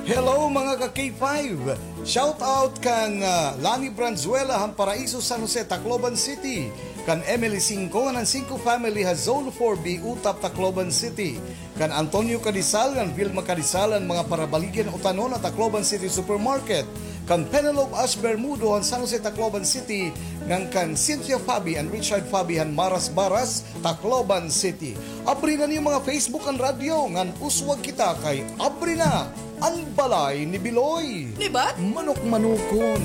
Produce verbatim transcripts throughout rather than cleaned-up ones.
Hello, mga ka K five! Shout out kan, ah, Lani Branzuela han Paraiso, San Jose, Tacloban City, kan Emily Cinco han Cinco family ha Zone four B, Utap, Tacloban City, kan Antonio Cadizal ngan Vilma Cadizal han mga Parabaligyan Utanon ha Tacloban City Supermarket, kan Penelope Ash Bermudo han San Jose, Tacloban City, ngan kan Cynthia Fabi and Richard Fabi han Maras Baras, Tacloban City. Abri na niyo mga Facebook ngan radyo, ngan uswag kita kay abri na an balay ni Biloy. Libat? Manok-manokon.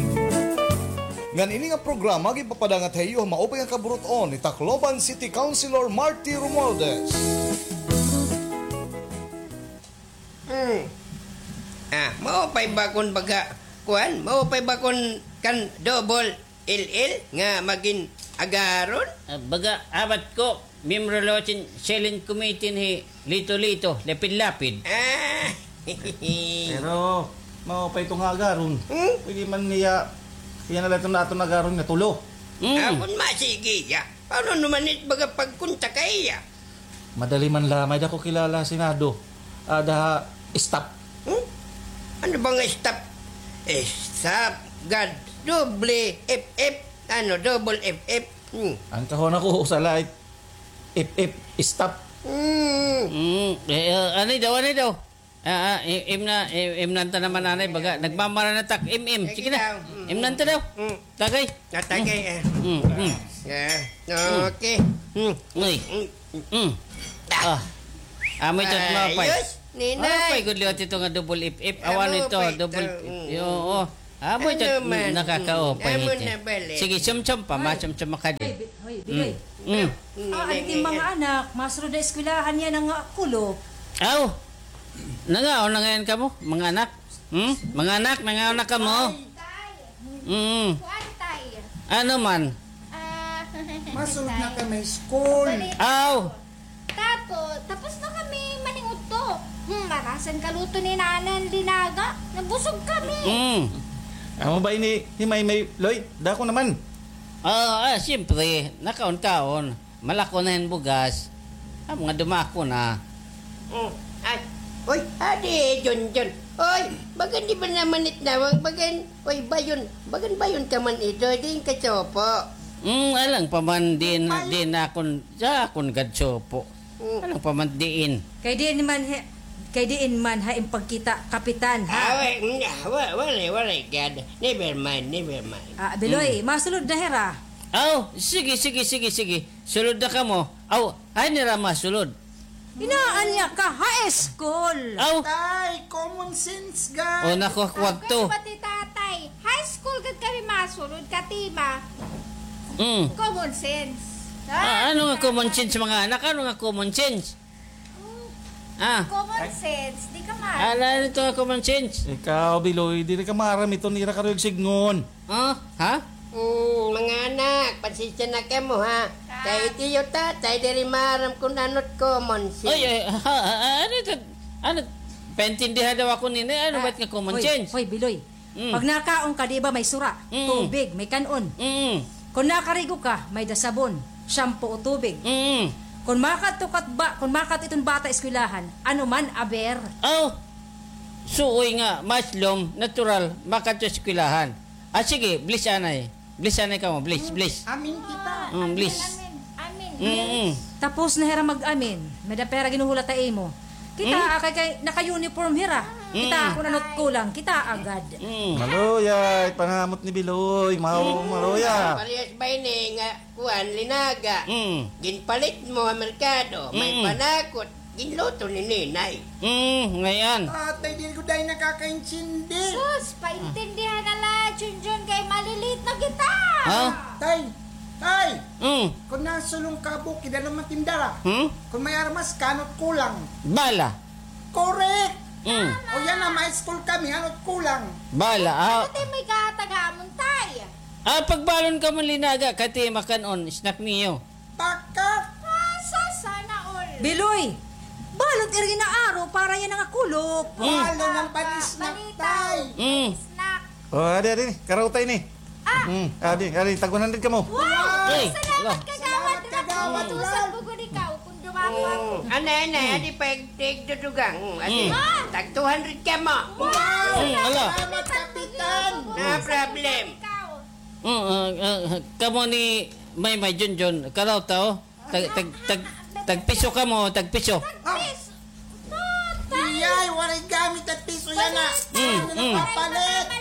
Ngan ini nga programa ginpapadangat ha iyo han maupay nga kaburut-on ni Tacloban City Councilor Marty Romualdez. Hmm. Ah, maupay ba kon baga, kuan? Maupay ba kon kan double L L nga magin agaron? Ah, baga, abat ko, miyembro la hin silent committee ni Lito-Lito, Lapid-Lapid. Ah. Pero, maupay ito nga agaron. Hmm? Pwede man niya, iya na la ito nga aton agaron nga tulo. Hmm. Ah, kon masigi iya. Paano naman it baga pagkontak ha iya? Madali man la, may-ada ko kilala ha Senado. Ada ha staff. Hmm? Ano ba nga staff? Eh, staff, gad, doble F F, ano, double F F. Hmm. An kahon ako, usa la it F F, staff. Hmm. Mm, eh, eh, ano daw, ano daw? Ah, ah, i-, im na, i-, imnan ta naman, anay, baga, nagmamara na tak, im, im. Sige na. Imnan ta daw. Mm. Tagay. Natagay, eh. Mm, mm. Yeah. Okay. Mm. Uy. Mm. Mm. Ah. Amo ito, maupay. Ayos, Ninay. Maupay gud liwat ito nga double F F. Awan ito, double F F. Mm. Yo, oh. Amo ito, nakakaupay ito. Sige, sumsum pa, masumsum ka din. Hoy, Bi-, hoy, Biloy. Mm. Mm. Ah, an it mga anak, masulod na eskwelahan niya nga kulop. Aw. Nangaon na ngay-an kamo, mga anak? Hmm? Mga anak, nangaon na kamo? Tay. Mm. Kuan, tay. Ano man? Ah, masulod na kami school. Aw. Tapos, tapos na kami maningudto. Hmm, marasan kaluto ni Nanay an linaga. Nabusog kami. Mm. Amo ba ini, hi Maymay, Loy? Dako naman. Ah, ah, siyempre, nakaon-kaon. Malako na hin bugas. Amo nga dumako na. Mm. Ay, oy, adi, Junjun. Oy, bagan di ba naman it nawag? Bagan, oy, bayon. Bagan bayon ka man ito, diin ka supo? Mm, alang pa man, diin, diin akon, sa akon gad supo. Mm. Alang pa man diin. Kay diin man ha, kay diin man ha im pagkita, kapitan, ha? Ah, wa-, mm, ah, wa-, waray, waray gad. Never mind, never mind. Ah, Biloy, masulod na hira. Aw, sige, sige, sige, sige. Sulod na kamo. Aw, ay nira masulod. Inaanya ka, high school. Aw. Tay, common sense gad. O, naku, wag to. Pati tatay. High school gad kami masulod, katima. Mm. Common sense. Ah, ano nga common sense, mga anak? Ano nga common sense? Ah. Common sense, di ka maaram. Ala, ano ito nga common sense? Ikaw, Biloy, diri ka maaram ito, nira karuyag sidngon. Ah, ha? Mm, mga anak, pasensya na kamo, ha? Kay it iyo tatay, diri maaram kon ano it common sense. Ay, ay, ha, ha, ha, ano ito? Ano? Paintindihan daw ako nini. Ano ba it nga common sense? Hoy, Biloy. Mm. Pag nakaon ka, di ba may sura, tubig, may kan-on. Mm. Kon nakarigo ka, may-ada sabon, shampoo o tubig. Mm. Kon makadto kat ba, kon makadto iton bata eskwelahan, ano man, aber. Aw, suoy nga, maslom, natural, makadto eskwelahan. Ah, sige, bless anay. Bless anay kamo, bless, bless. Amen kita. Mm, bless. Amen, amen, amen. Mm, mm. Tapos na hira mag-amen. May-ada pa hira ginhuhulat ha imo. Kita, hmm? Kay, kay naka-uniform hira. Hmm. Kita kon ano it kulang, kita agad. Hmm. Maluya, it panamot ni Biloy, mao, hmm, maluya. Parehas ba ini nga kuan, linaga? Hmm. Ginpalit mo ha merkado, may, hmm, panakot, ginluto ni Ninay. Hmm, ngay-an. Tatay, diri ko dayon nakakaintindi. Sus, paintindihan na la, Junjun, kay malilit na kita. Ha? Tay, tay. Hmm. Kon nasulong ka bukid, ano man tindara? Hmm? Kon may armas ka, ano it kulang? Bala. Correct! Mm. O yana, ma-school kami, ano it kulang? Bala, ah. Ano it may kahatag ha amon, tay? Ah, pagbalon kamo linaga, kay it makan-on, snack niyo. Bakak! Ah, sa, sana all. Biloy! Balon it ira gin-aaro para yana nga kulop. Mm. Balon an pan-snack, tay. Mm. Snack. O, adi, adi, karautay ni. Ah. Mm, adi, adi, tag one hundred kamo. Wow! Ay, salamat, kagawad. Salamat, kagawad. Usa pa gud ikaw, kon duman. Anay, anay, adi pa ig-, tigdudugang. Adi, tag two hundred kamo. Wow! Ala. Salamat, Kapitan. No problem. Mm, ah, ah, kamo ni Maymay, Junjun, karaw ta, o. Tag, tag, tag, tagpiso kamo, tagpiso. Iyay, waray gamit tagpiso yana. Mm, mm. Papalit.